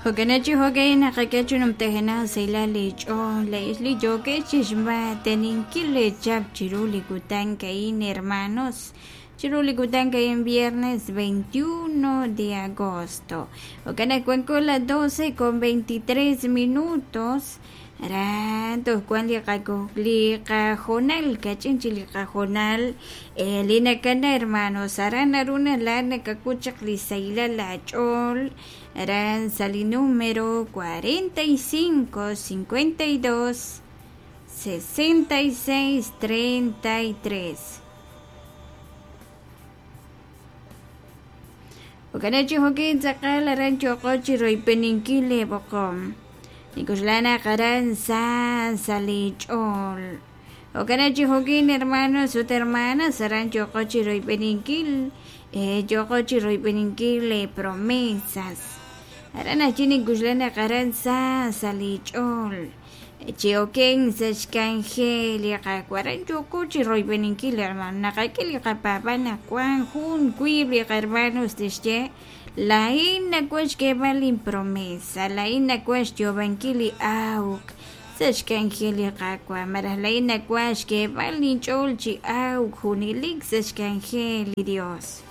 Jo'kanachi jo'ka'in naqak'e chi numtajenaq sahilal li ch'ool li yookex chixmaateninkil leechap chiru li kutan a'in hermanos chiru li kutan a'in viernes 21 de agosto. Jo'kan naq wanko las 12 con 23 minutos aran toj wan li li qajonal kach'in chik li qajonal li nakana hermanos aran naru laa'at nakak'ut chaq li sahilal aach'ool aran sa' li número 45 52 66 33. Jo'kan chi jo'kin tz'aqal aran yooqo chi royb'eninkil leeb'oqom nik'uxla naq aran sa sa li ch'ool. Jo'kan chi jo'kin hermanos ut hermanas aran yooqo chi royb'eninkil yooqo chi royb'eninkil le promesas aran ajwi' nik'uxla naq aran sa sa li ch'ool chi oken sa' xk'anjel li Qaawa' aran yooko chi royb'eninkil hermano naqak'e li qapaab'al naq wan jun wiib' li qahermanos tixye laa'in nawaj xk'eeb'al inpromesa laa'in nawaj xyoob'ankil li awk sa' xk'anjel li Qaawa' malaj laa'in nawaj xk'eeb'al inch'ool chi awk junelik sa' xk'anjel li Dios.